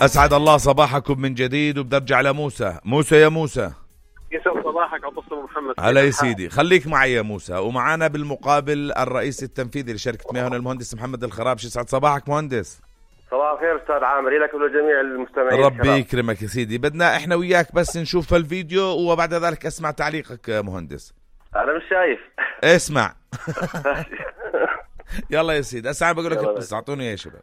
أسعد الله صباحكم من جديد، وبدي أرجع لموسى. موسى يا موسى، يسعد صباحك عبد الله محمد. هلا يا سيدي، خليك معي يا موسى. ومعانا بالمقابل الرئيس التنفيذي لشركة مياه المهندس محمد الخرابش. يسعد صباحك مهندس. صباح الخير أستاذ عامر، لك ولجميع المستمعين. ربي يكرمك يا سيدي. بدنا إحنا وياك بس نشوف الفيديو وبعد ذلك أسمع تعليقك يا مهندس. أنا مش شايف. اسمع. يلا يا سيدي، أسعى بقول لك القصة، أعطوني يا شباب.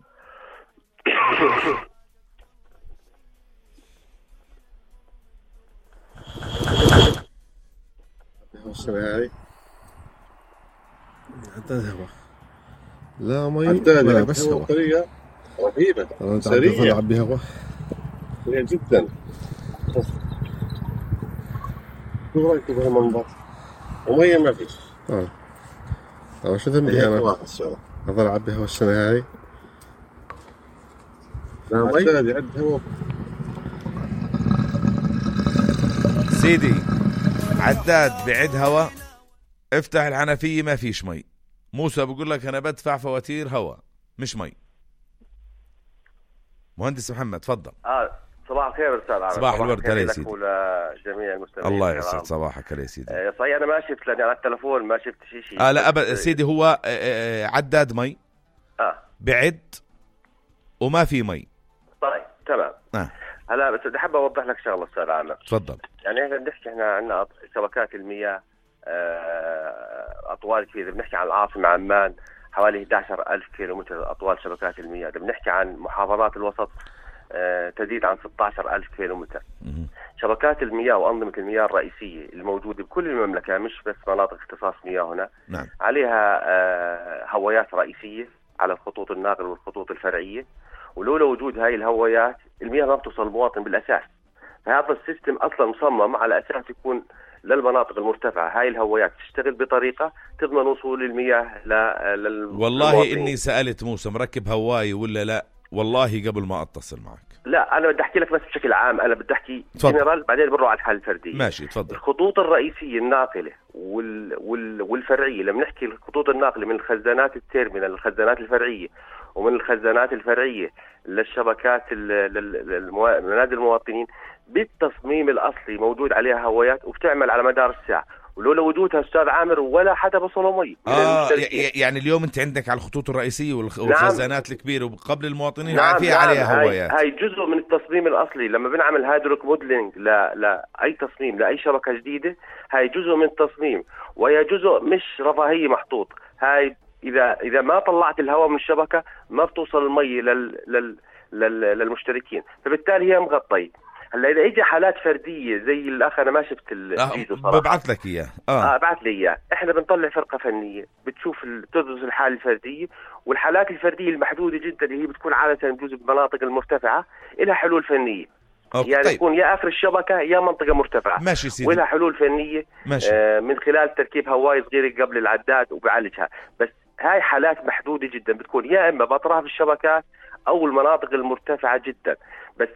هاي عداد هوا، لا مي ولا بس هوا. طريقة رهيبة سريعة، عبي هوا سريعة جدا. شو رأيك بهالمنظر؟ ومية ما فيش. شو ذنبي أنا؟ أظل عبي هوا السنة هاي. عداد يعد هوا سيدي، عداد بعد هوا. افتح الحنفية ما فيش مي. موسى بقول لك أنا بدفع فواتير هوا مش مي. مهندس محمد تفضل. صباح الخير أستاذ عامر. صباح الورد يا سيدي. ولجميع المستمعين. الله يسعد صباحك يا سيدي. صحيح أنا ما شفت، لأني على التلفون ما شفت شيء. لا أبدا سيدي، هو عداد مي بعد وما في مي. طيب تمام. هلا بس بدي حابب اوضح لك شغله استاذ عامر. تفضل. يعني احنا بنحكي، احنا عندنا شبكات المياه اطوال كبيره. بنحكي عن العاصمه عمان حوالي 11,000 كيلومتر اطوال شبكات المياه. بنحكي عن محافظات الوسط تزيد عن 16,000 كيلومتر. شبكات المياه وانظمه المياه الرئيسيه الموجوده بكل المملكه، مش بس مناطق اختصاص مياه هنا. نعم. عليها هوايات رئيسيه على الخطوط الناقله والخطوط الفرعيه، ولولا وجود هاي الهوايات المياه ما بتوصل المواطن بالأساس. فهذا السيستم أصلا مصمم على أساس يكون للمناطق المرتفعة هاي الهوايات تشتغل بطريقة تضمن وصول المياه والله إني سألت موسى مركب هواي ولا لا، والله قبل ما أتصل معك. لا أنا بدي أحكي لك بس بشكل عام، أنا بدي أحكي جنرال بعدين بنروح على الحالة الفردية. ماشي تفضل. الخطوط الرئيسية الناقلة والفرعية، لما نحكي الخطوط الناقلة من الخزانات التيرمينال للخزانات الفرعية، ومن الخزانات الفرعية للشبكات منازل المواطنين، بالتصميم الأصلي موجود عليها هوايات وبتعمل على مدار الساعة، ولولا وجودها أستاذ عامر ولا حدا بصله مي. يعني اليوم أنت عندك على الخطوط الرئيسية والخزانات الكبيرة وقبل المواطنين في نعم. عليها هوايات. هاي جزء من التصميم الأصلي. لما بنعمل هيدروك موديلينج لأي تصميم لأي شبكة جديدة، هاي جزء من التصميم، وهي جزء مش رفاهية محطوط. هاي إذا ما طلعت الهواء من الشبكة ما بتوصل المي للمشتركين، فبالتالي هي مغطية. هلا إذا إجا حالات فردية زي الأخ، أنا ما شفت الفيديو صراحة. ببعث لك إياه. بعث لي إياه. إحنا بنطلع فرقة فنية بتشوف تدرس الحالة الفردية، والحالات الفردية المحدودة جدا اللي هي بتكون عادة بجوز بالمناطق المرتفعة إلها حلول فنية. يعني طيب. تكون يا آخر الشبكة يا منطقة مرتفعة. ماشي سيدي. ولها حلول فنية. ماشي. من خلال تركيب هواي صغيرة قبل العداد وبعالجها. بس هاي حالات محدودة جدا بتكون يا إما بأطراف الشبكات أو المناطق المرتفعة جدا. بس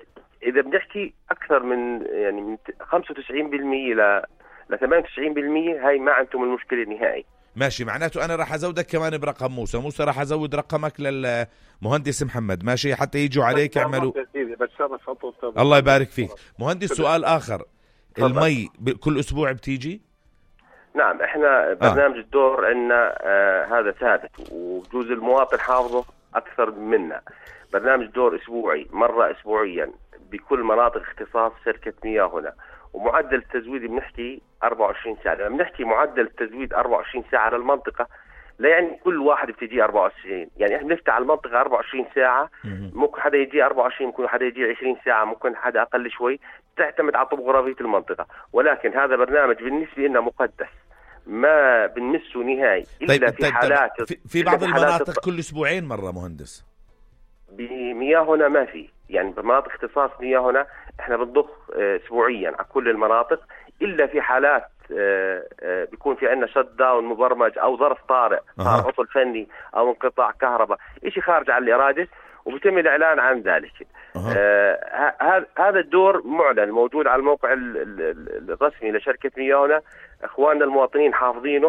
إذا بنحكي أكثر من 95% ل 98%، هاي ما عندهم المشكلة النهائي. ماشي، معناته أنا راح أزودك كمان برقم موسى راح أزود رقمك للمهندس محمد، ماشي، حتى يجوا عليك يعملوا. الله يبارك فيك مهندس. سؤال آخر، المي كل أسبوع بتيجي؟ نعم، احنا برنامج الدور عندنا هذا ثابت، وجوز المواطن حافظه أكثر منا. برنامج دور أسبوعي، مرة أسبوعيا بكل مناطق اختصاص شركة مياه هنا. ومعدل التزويد بنحكي 24 ساعة. لما بنحكي معدل التزويد 24 ساعة للمنطقة، لا يعني كل واحد بتجي 24. يعني احنا بنفتح على المنطقة 24 ساعة. ممكن حدا يجي 24، ممكن حدا يجي 20 ساعة، ممكن حدا أقل شوي، تعتمد على طبوغرافية المنطقة. ولكن هذا برنامج بالنسبة لنا مقدس، ما بنمسه نهائي إلا في حالات. في بعض المناطق كل أسبوعين مرة مهندس. بمياه هنا ما في، يعني بمناطق اختصاص مياه هنا احنا بنضخ اسبوعيا على كل المناطق، الا في حالات بيكون في عندنا شت داون مبرمج او ظرف طارئ، صار عطل فني او انقطاع كهرباء، شيء خارج عن الاراده، وبيتم الاعلان عن ذلك. هذا الدور معلن موجود على الموقع الرسمي لشركه مياه هنا. اخواننا المواطنين حافظينه،